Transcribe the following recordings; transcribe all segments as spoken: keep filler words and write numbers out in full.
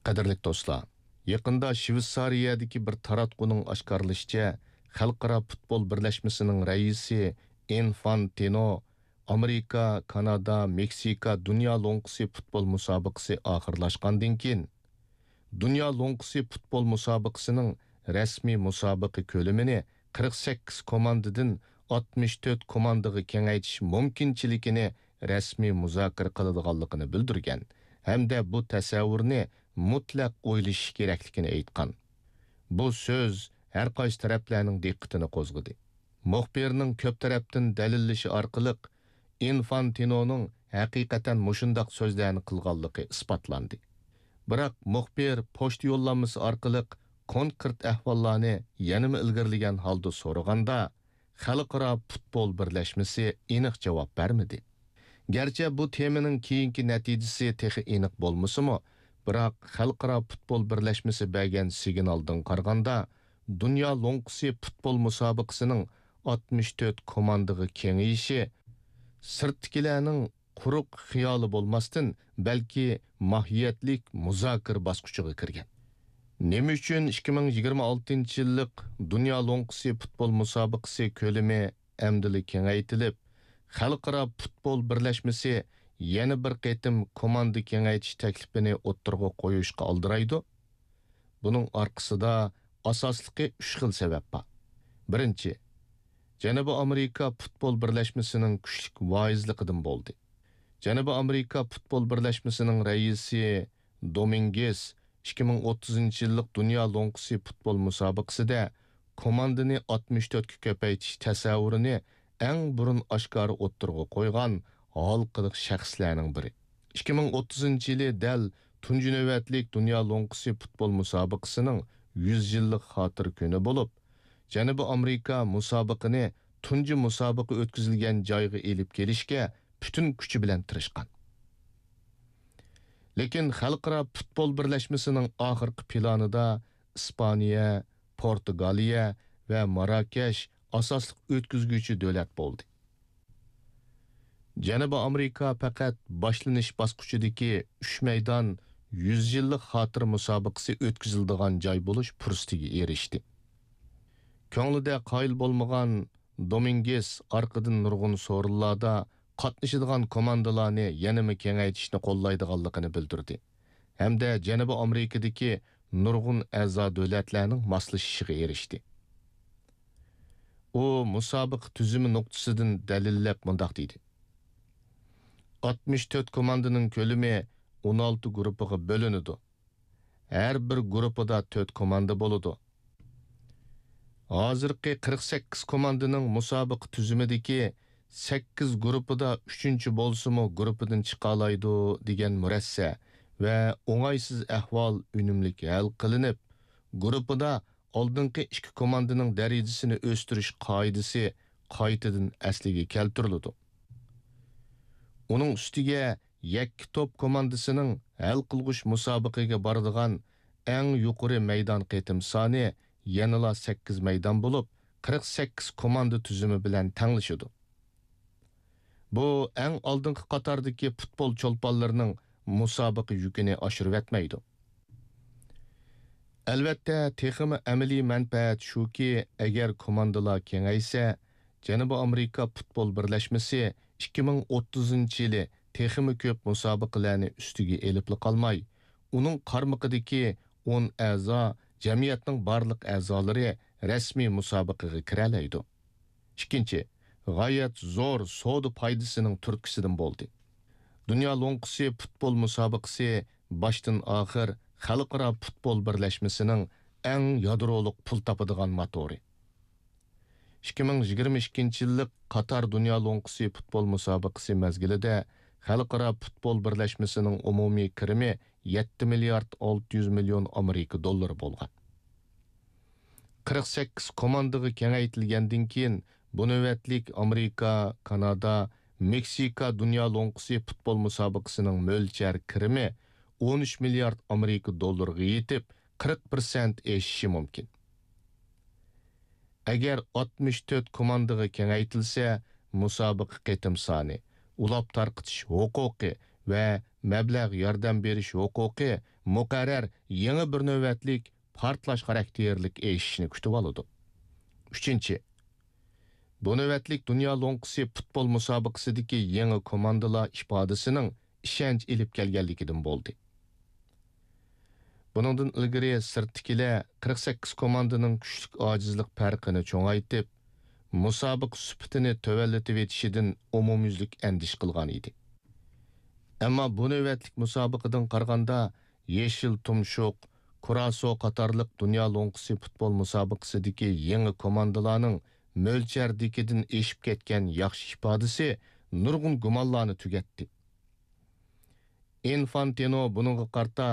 قەدىرلىك دوستلار، يېقىندا شۋېتسارىيەدىكى بىر تاراتقۇنىڭ ئاشكارىلىشىچە، خەلقئارا پۇتبول بىرلەشمىسىنىڭ رەئىسى ئىنفانتىنو ئامېرىكا، كانادا، مېكسىكا دۇنيا لوڭقىسى پۇتبول مۇسابىقىسى ئاخىرلاشقاندىن كېيىن، دۇنيا لوڭقىسى پۇتبول مۇسابىقىسىنىڭ رەسمىي مۇسابىقە كۆلىمىنى قىرىق سەككىز كوماندىدىن ئاتمىش تۆت كوماندىغا كېڭەيتىش مۇمكىنچىلىكىنى رەسمىي مۇزاكىرە قىلىدىغانلىقىنى بىلدۈرگەن ھەمدە بۇ تەسەۋۋۇرنى مۇتلەق ئويلىشىش كېرەكلىكىنى ئېيتقان. بۇ سۆز ھەر قايسى تەرەپلەرنىڭ دىققىتىنى قوزغىدى. مۇخبىرنىڭ كۆپ تەرەپتىن دەلىللىشى ئارقىلىق، ئىنفانتىنونىڭ ھەقىقەتەن مۇشۇنداق سۆزلەرنى قىلغانلىقى ئىسپاتلاندى. بىراق مۇخبىر پوچتا يوللانمىسى ئارقىلىق كونكرېت ئەھۋاللارنى يەنىمۇ ئىلگىرىلىگەن ھالدا سورىغاندا، خەلقئارا پۇتبول بىرلەشمىسى ئېنىق جاۋاب بەرمىدى. گەرچە بۇ تېمىنىڭ كېيىنكى نەتىجىسى تېخى ئېنىق بولمىسىمۇ، بىراق خەلقئارا پۇتبول بىرلەشمىسى بەرگەن سىگنالدىن قارىغاندا، دۇنيا لوڭقىسى پۇتبول مۇسابىقىسىنىڭ ئاتمىش تۆت كوماندىغا كېڭىيىشى سىرتتىكىلەرنىڭ قۇرۇق خىيالى بولماستىن، بەلكى ماھىيەتلىك مۇزاكىرە باسقۇچىغا كىرگەن. نېمە ئۈچۈن ئىككى مىڭ يىگىرمە ئالتىنچى يىللىق دۇنيا لوڭقىسى پۇتبول مۇسابىقىسى كۆلىمى ئەمدىلا كېڭەيتىلىپ، خەلقئارا پۇتبول بىرلەشمىسى يەنە بىر قېتىم كوماندا كېڭەيتىش تەكلىپىنى ئوتتۇرىغا قويۇشقا ئالدىرايدۇ؟ بۇنىڭ ئارقىسىدا ئاساسلىقى ئۈچ خىل سەۋەب بار. بىرىنچى، جەنۇبىي ئامېرىكا پۇتبول بىرلەشمىسىنىڭ كۈچلۈك ۋايىزلىقىدىن بولدى. جەنۇبىي ئامېرىكا پۇتبول بىرلەشمىسىنىڭ رەئىسى دومىنگېس ئىككى مىڭ ئوتتۇزىنچى يىللىق دۇنيا لوڭقىسى پۇتبول مۇسابىقىسىدە كوماندىنى ئاتمىش تۆتكە كۆپەيتىش تەسەۋۋۇرىنى ئەڭ بۇرۇن ئاشكارا ئوتتۇرىغا قويغان ھالقىلىق شەخسلەرنىڭ بىرى. ئىككى مىڭ ئوتتۇزىنچى يىلى دەل تۇنجى نۆۋەتلىك دۇنيا لوڭقىسى پۇتبول مۇسابىقىسىنىڭ يۈز يىللىق خاتىرە كۈنى بولۇپ، جەنۇبىي ئامېرىكا مۇسابىقىنى تۇنجى مۇسابىقە ئۆتكۈزۈلگەن جايغا ئېلىپ كېلىشكە پۈتۈن كۈچى بىلەن تىرىشقان. لېكىن خەلقئارا پۇتبول بىرلەشمىسىنىڭ ئاخىرقى پىلانىدا ئىسپانىيە، پورتۇگالىيە ۋە ماراكەش ئاساسلىق ئۆتكۈزگۈچى دۆلەت بولدى. جەنۇبىي ئامېرىكا پەقەت باشلىنىش باسقۇچىدىكى ئۈچ مەيدان يۈز يىللىق خاتىرە مۇسابىقىسى ئۆتكۈزۈلىدىغان جاي بولۇش پۇرسىتىگە ئېرىشتى. كۆڭلىدە قايىل بولمىغان دومىنگېس ئارقىدىن نۇرغۇن سورۇنلاردا قاتنىشىدىغان كوماندىلارنى يەنىمۇ كېڭەيتىشنى قوللايدىغانلىقىنى بىلدۈردى ھەمدە جەنۇبىي ئامېرىكىدىكى نۇرغۇن ئەزا دۆلەتلەرنىڭ ماسلىشىشىغا ئېرىشتى. ئۇ مۇسابىقە تۈزۈمى نۇقتىسىدىن دەلىللەپ مۇنداق دېدى: ئاتمىش تۆت كوماندىنىڭ كۆلىمى ئون ئالتە گۇرۇپپىغا بۆلۈنىدۇ. ھەر بىر گۇرۇپپىدا تۆت كوماندا بولىدۇ. ھازىرقى قىرىق سەككىز كوماندىنىڭ مۇسابىقە تۈزۈمىدىكى سەككىز گۇرۇپپىدا ئۈچىنچى بولسىمۇ گۇرۇپپىدىن چىقالايدۇ دېگەن مۇرەسسە ۋە ئوڭايسىز ئەھۋال ئۈنۈملۈك ھەل قىلىنىپ، گۇرۇپپىدا ئالدىنقى ئىككى كوماندىنىڭ دەرىجىسىنى ئۆستۈرۈش قائىدىسى قايتىدىن ئەسلىگە كەلتۈرۈلىدۇ. ئۇنىڭ ئۈستىگە يەككە توپ كوماندىسىنىڭ ھەل قىلغۇچ مۇسابىقىگە بارىدىغان ئەڭ يۇقىرى مەيدان قېتىم سانى يەنىلا سەككىز مەيدان بولۇپ، قىرىق سەككىز كوماندا تۈزۈمى بىلەن تەڭلىشىدۇ. بۇ ئەڭ ئالدىنقى قاتاردىكى پۇتبول چولپانلىرىنىڭ مۇسابىقە يۈكىنى ئاشۇرۇۋەتمەيدۇ. ئەلۋەتتە، تېخىمۇ ئەمەلىي مەنپەئەت شۇكى، ئەگەر كوماندىلار كېڭەيسە، جەنۇبىي ئامېرىكا پۇتبول بىرلەشمىسى ئىككى مىڭ ئوتتۇزىنچى يىلى تېخىمۇ كۆپ مۇسابىقىلەرنى ئۈستىگە ئېلىپلا قالماي، ئۇنىڭ قارمىقىدىكى ئون ئەزا، جەمئىيەتنىڭ بارلىق ئەزالىرى رەسمىي مۇسابىقىگە كىرەلەيدۇ. ئىككىنچى، غايەت زور سودا پايدىسىنىڭ تۈرتكىسىدىن بولدى. دۇنيا لوڭقىسى پۇتبول مۇسابىقىسى باشتىن ئاخىر خەلقئارا پۇتبول بىرلەشمىسىنىڭ ئەڭ يادرولۇق پۇل تاپىدىغان موتورى. ئىككى مىڭ يىگىرمە ئىككىنچى يىللىق قاتار دۇنيا لوڭقىسى پۇتبول مۇسابىقىسى مەزگىلىدە خەلقئارا پۇتبول بىرلەشمىسىنىڭ ئومۇمىي كىرىمى يەتتە مىليارد ئالتە يۈز مىليون ئامېرىكا دوللىرى بولغان. قىرىق سەككىز كوماندىغا كېڭەيتىلگەندىن كېيىن، بۇ نۆۋەتلىك ئامېرىكا، كانادا، مېكسىكا دۇنيا لوڭقىسى پۇتبول مۇسابىقىسىنىڭ مۆلچەر كىرىمى ئون ئۈچ مىليارد ئامېرىكا دوللىرىغا يېتىپ، قىرىق پىرسەنت ئېشىشى مۇمكىن. ئەگەر ئاتمىش تۆت كوماندىغا كېڭەيتىلسە، مۇسابىقە قېتىم سانى، ئۇلاپ تارقىتىش ھوقۇقى ۋە مەبلەغ ياردەم بېرىش ھوقۇقى مۇقەررەر يېڭى بىر نۆۋەتلىك پارتلاش خاراكتېرلىك ئېشىشنى كۈتۈۋالىدۇ. ئۈچىنچى، بۇ نۆۋەتلىك دۇنيا لوڭقىسى پۇتبول مۇسابىقىسىدىكى يېڭى كوماندىلار ئىپادىسىنىڭ ئىشەنچ ئېلىپ كەلگەنلىكىدىن بولدى. بۇنىڭدىن ئىلگىرى سىرتتىكىلەر قىرىق سەككىز كوماندىنىڭ كۈچلۈك ئاجىزلىق پەرقىنى چوڭايتىپ، مۇسابىقە سۈپىتىنى تۆۋەنلىتىۋېتىشىدىن ئومۇميۈزلۈك ئەندىشە قىلغان ئىدى. ئەمما بۇ نۆۋەتلىك مۇسابىقىدىن قارىغاندا، يېشىل تۇمشۇق، كۇراسو قاتارلىق دۇنيا لوڭقىسى پۇتبول مۇسابىقىسىدىكى يېڭى كوماندىلارنىڭ مۆلچەردىكىدىن ئېشىپ كەتكەن ياخشى ئىپادىسى نۇرغۇن گۇمانلارنى تۈگەتتى. ئىنفانتىنو بۇنىڭغا قارىتا،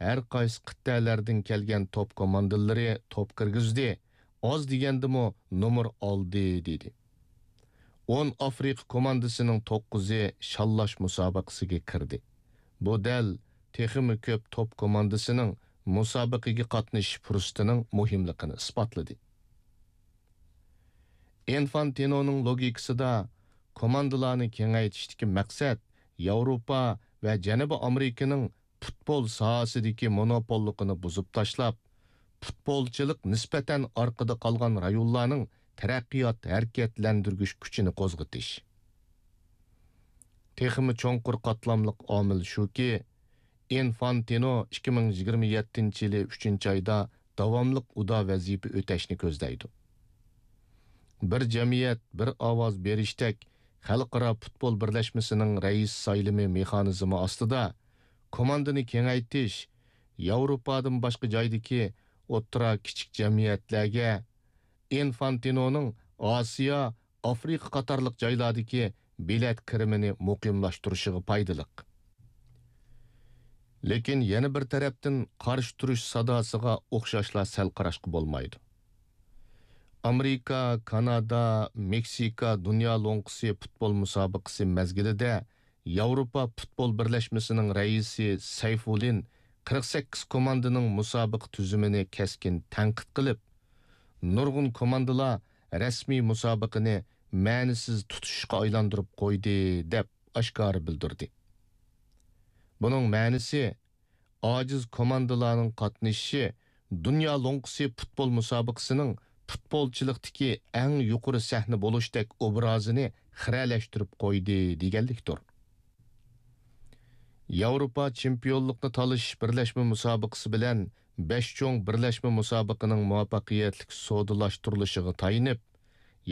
ھەر قايسى قىتئەلەردىن كەلگەن توپ كوماندىلىرى توپ كىرگۈزدى، ئاز دېگەندىمۇ نومۇر ئالدى، دېدى. ئون ئافرىقا كوماندىسىنىڭ توققۇزى شاللاش مۇسابىقىسىگە كىردى. بۇ دەل تېخىمۇ كۆپ توپ كوماندىسىنىڭ مۇسابىقىگە قاتنىشىش پۇرسىتىنىڭ مۇھىملىقىنى ئىسپاتلىدى. ئىنفانتىنونىڭ لوگىكىسىدا، كوماندىلارنى كېڭەيتىشتىكى مەقسەت ياۋروپا ۋە جەنۇبىي ئامېرىكىنىڭ پۇتبول ساھەسىدىكى مونوپوللۇقىنى بۇزۇپ تاشلاپ، پۇتبولچىلىق نىسبەتەن ئارقىدا قالغان رايونلارنىڭ تەرەققىيات ھەرىكەتلەندۈرگۈچ كۈچىنى قوزغىتىش. تېخىمۇ چوڭقۇر قاتلاملىق ئامىل شۇكى، ئىنفانتىنو ئىككى مىڭ يىگىرمە يەتتىنچى يىلى ئۈچىنچى ئايدا داۋاملىق ئۇدا ۋەزىپە ئۆتەشنى كۆزلەيدۇ. بىر جەمئىيەت، بىر ئاۋاز بېرىشتەك خەلقئارا پۇتبول بىرلەشمىسىنىڭ رەئىس سايلىمى مېخانىزمى ئاستىدا، كوماندىنى كېڭەيتىش، ياۋروپادىن باشقا جايدىكى ئوتتۇرا، كىچىك جەمئىيەتلەرگە ئىنفانتىنونىڭ ئاسىيا، ئافرىقا قاتارلىق جايلاردىكى بېلەت كىرىمىنى مۇقىملاشتۇرۇشىغا پايدىلىق. لېكىن يەنە بىر تەرەپتىن، قارشى تۇرۇش ساداسىغا ئوخشاشلا سەل قاراشقا بولمايدۇ. ئامېرىكا، كانادا، مېكسىكا دۇنيا لوڭقىسى پۇتبول مۇسابىقىسى مەزگىلىدە ياۋروپا پۇتبول بىرلەشمىسىنىڭ رەئىسى سەيفۇللىن قىرىق سەككىز كوماندىنىڭ مۇسابىقە تۈزۈمىنى كەسكىن تەنقىد قىلىپ، نۇرغۇن كوماندىلار رەسمىي مۇسابىقىنى مەنىسىز تۇتۇشۇشقا ئايلاندۇرۇپ قويدى، دەپ ئاشكارا بىلدۈردى. بۇنىڭ مەنىسى، ئاجىز كوماندىلارنىڭ قاتنىشىشى دۇنيا لوڭقىسى پۇتبول مۇسابىقىسىنىڭ پۇتبولچىلىقتىكى ئەڭ يۇقىرى سەھنە بولۇشتەك ئوبرازىنى خىرەلەشتۈرۈپ قويدى، دېگەنلىكتۇر. ياۋروپا چېمپىيونلۇقنى تالىشىش بىرلەشمە مۇسابىقىسى بىلەن بەش چوڭ بىرلەشمە مۇسابىقىنىڭ مۇۋەپپەقىيەتلىك سودىلاشتۇرۇلۇشىغا تايىنىپ،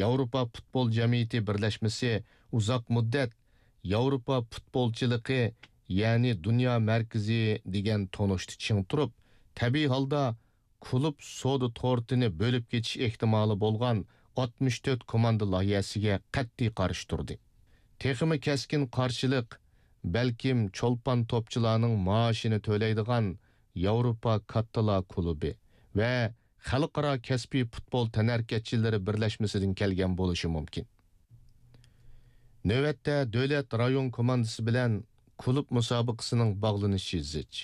ياۋروپا پۇتبول جەمئىيىتى بىرلەشمىسى ئۇزاق مۇددەت ياۋروپا پۇتبولچىلىقى، يەنى دۇنيا مەركىزى دېگەن تونۇشتا چىڭ تۇرۇپ، تەبىئىي ھالدا كۇلۇب سودا تورتىنى بۆلۈپ كېتىش ئېھتىمالى بولغان ئاتمىش تۆت كوماندا لايىھەسىگە قەتئىي قارشى تۇردى. تېخىمۇ كەسكىن قارشىلىق بەلكىم چولپان توپچىلارنىڭ مائاشىنى تۆلەيدىغان ياۋروپا كاتتىلار كۇلۇبى ۋە خەلقئارا كەسپىي پۇتبول تەنھەرىكەتچىلىرى بىرلەشمىسىدىن كەلگەن بولۇشى مۇمكىن. نۆۋەتتە دۆلەت رايون كوماندىسى بىلەن كۇلۇب مۇسابىقىسىنىڭ باغلىنىشى زىچ.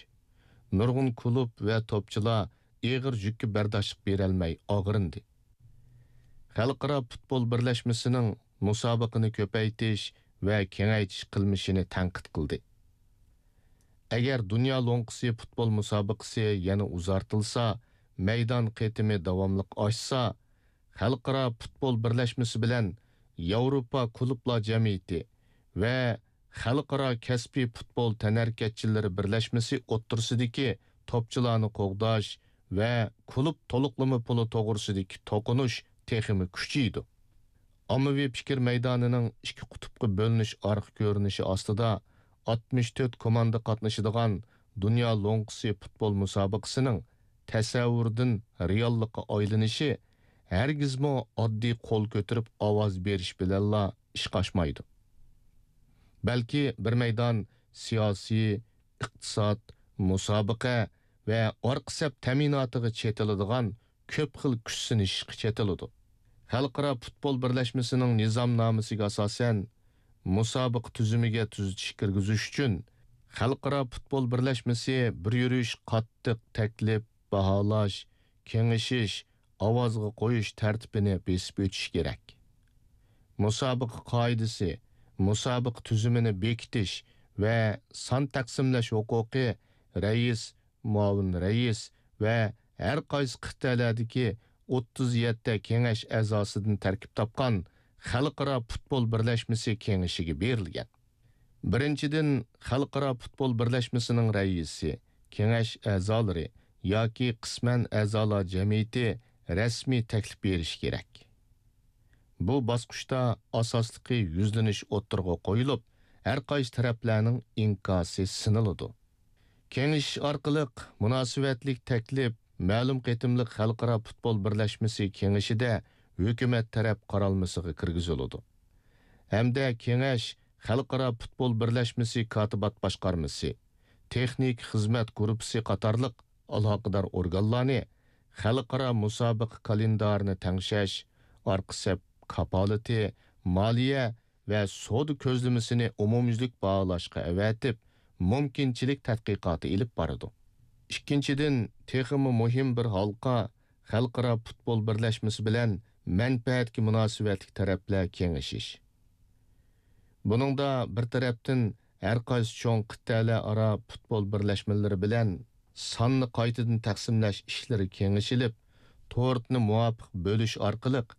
نۇرغۇن كۇلۇب ۋە توپچىلار ئېغىر يۈككە بەرداشلىق بېرەلمەي ئاغرىندى. خەلقئارا پۇتبول بىرلەشمىسىنىڭ مۇسابىقىنى كۆپەيتىش ۋە كېڭەيتىش قىلمىشىنى تەنقىد قىلدى. ئەگەر دۇنيا لوڭقىسى پۇتبول مۇسابىقىسى يەنە ئۇزارتىلسا، مەيدان قېتىمى داۋاملىق ئاشسا، خەلقئارا پۇتبول بىرلەشمىسى بىلەن ياۋروپا كۇلۇبلار جەمئىيىتى ۋە خەلقئارا كەسپىي پۇتبول تەنھەرىكەتچىلىرى بىرلەشمىسى ئوتتۇرىسىدىكى توپچىلارنى قوغداش ۋە كۇلۇب تولۇقلىما پۇلى توغرىسىدىكى توقۇنۇش تېخىمۇ كۈچىيىدۇ. ئاممىۋى پىكىر مەيدانىنىڭ ئىككى قۇتۇپقا بۆلۈنۈش ئارقا كۆرۈنۈشى ئاستىدا ئاتمىش تۆت كوماندا قاتنىشىدىغان دۇنيا لوڭقىسى پۇتبول مۇسابىقىسىنىڭ تەسەۋۋۇردىن رېئاللىققا ئايلىنىشى ھەرگىزمۇ ئاددىي قول كۆتۈرۈپ ئاۋاز بېرىش بىلەنلا ئىشقا ئاشمايدۇ. بەلكى بىر مەيدان سىياسىي، ئىقتىساد، مۇسابىقە ۋە ئارقا سەپ تەمىناتىغا چېتىلىدىغان كۆپ خىل كۈچ سىنىشىشقا چېتىلىدۇ. خەلقئارا پۇتبول بىرلەشمىسىنىڭ نىزامنامىسىگە ئاساسەن، مۇسابىقە تۈزۈمىگە تۈزىتىش كىرگۈزۈش ئۈچۈن، خەلقئارا پۇتبول بىرلەشمىسى بىر يۈرۈش قاتتىق تەكلىپ، باھالاش، كېڭىشىش، ئاۋازغا قويۇش تەرتىپىنى بېسىپ ئۆتۈشى كېرەك. مۇسابىقە قائىدىسى، مۇسابىقە تۈزۈمىنى بېكىتىش ۋە سان تەقسىملەش ھوقۇقى رەئىس، مۇئاۋىن رەئىس ۋە ھەر قايسى قىتئەلەردىكى ئوتتۇز يەتتە كېڭەش ئەزاسىدىن تەركىب تاپقان خەلقئارا پۇتبول بىرلەشمىسى كېڭىشىگە بېرىلگەن. بىرىنچىدىن، خەلقئارا پۇتبول بىرلەشمىسىنىڭ رەئىسى، كېڭەش ئەزالىرى ياكى قىسمەن ئەزالار جەمئىيىتى رەسمىي تەكلىپ بېرىشى كېرەك. بۇ باسقۇچتا ئاساسلىقى يۈزلىنىش ئوتتۇرىغا قويۇلۇپ، ھەر قايسى تەرەپلەرنىڭ ئىنكاسى سىنىلىدۇ. كېڭىشىش ئارقىلىق مۇناسىۋەتلىك تەكلىپ مەلۇم قېتىملىق خەلقئارا پۇتبول بىرلەشمىسى كېڭىشىدە ھۆكۈمەت تەرەپ قارالمىسىغا كىرگۈزۈلىدۇ. ھەمدە كېڭەش خەلقئارا پۇتبول بىرلەشمىسى كاتىبات باشقارمىسى، تېخنىك خىزمەت گۇرۇپپىسى قاتارلىق ئالاقىدار ئورگانلارنى خەلقئارا مۇسابىقە كالېندارىنى تەڭشەش، ئارقا سەپ كاپالىتى، مالىيە ۋە سودا كۆزلىمىسىنى ئومۇميۈزلۈك باھالاشقا ئەۋەتىپ، مۇمكىنچىلىك تەتقىقاتى ئېلىپ بارىدۇ. ئىككىنچىدىن، تېخىمۇ مۇھىم بىر ھالقا خەلقئارا پۇتبول بىرلەشمىسى بىلەن مەنپەئەتكە مۇناسىۋەتلىك تەرەپلەر كېڭىشىش. بۇنىڭدا بىر تەرەپتىن ھەر قايسى چوڭ قىتئەلەر ئارا پۇتبول بىرلەشمىلىرى بىلەن ساننى قايتىدىن تەقسىملەش ئىشلىرى كېڭىشىلىپ، تورتنى مۇۋاپىق بۆلۈش ئارقىلىق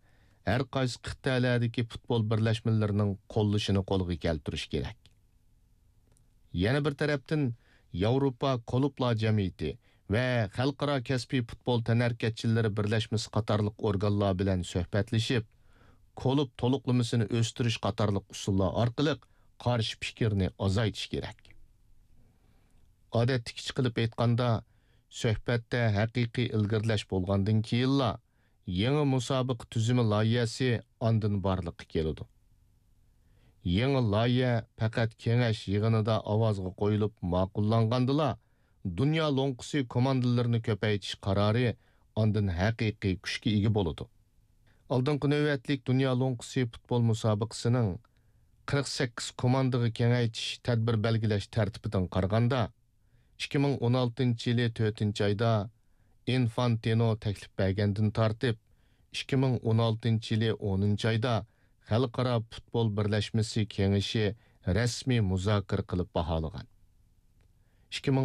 ھەر قايسى قىتئەلەردىكى پۇتبول بىرلەشمىلىرىنىڭ قوللىشىنى قولغا كەلتۈرۈش كېرەك. يەنە بىر تەرەپتىن، ياۋروپا كۇلۇبلار جەمئىيىتى ۋە خەلقئارا كەسپىي پۇتبول تەنھەرىكەتچىلىرى بىرلەشمىسى قاتارلىق ئورگانلار بىلەن سۆھبەتلىشىپ، كۇلۇب تولۇقلىمىسىنى ئۆستۈرۈش قاتارلىق ئۇسۇللار ئارقىلىق قارشى پىكىرنى ئازايتىش كېرەك. ئادەتتىكىچە قىلىپ ئېيتقاندا، سۆھبەتتە ھەقىقىي ئىلگىرىلەش بولغاندىن كېيىنلا، يېڭى مۇسابىقە تۈزۈمى لايىھەسى ئاندىن بارلىققا كېلىدۇ. يېڭى لايىھە پەقەت كېڭەش يىغىنىدا ئاۋازغا قويۇلۇپ ماقۇللانغاندىلا، دۇنيا لوڭقىسى كوماندىلىرىنى كۆپەيتىش قارارى ئاندىن ھەقىقىي كۈچكە ئىگە بولىدۇ. ئالدىنقى نۆۋەتلىك دۇنيا لوڭقىسى پۇتبول مۇسابىقىسىنىڭ قىرىق سەككىز كوماندىغا كېڭەيتىش تەدبىر بەلگىلەش تەرتىپىدىن قارىغاندا، ئىككى مىڭ ئون ئالتىنچى يىلى تۆتىنچى ئايدا ئىنفانتىنو تەكلىپ بەرگەندىن تارتىپ، ئىككى مىڭ ئون ئالتىنچى يىلى ئونىنچى ئايدا خەلقئارا پۇتبول بىرلەشمىسى كېڭىشى رەسمىي مۇزاكىرە قىلىپ باھالىغان. ئىككى مىڭ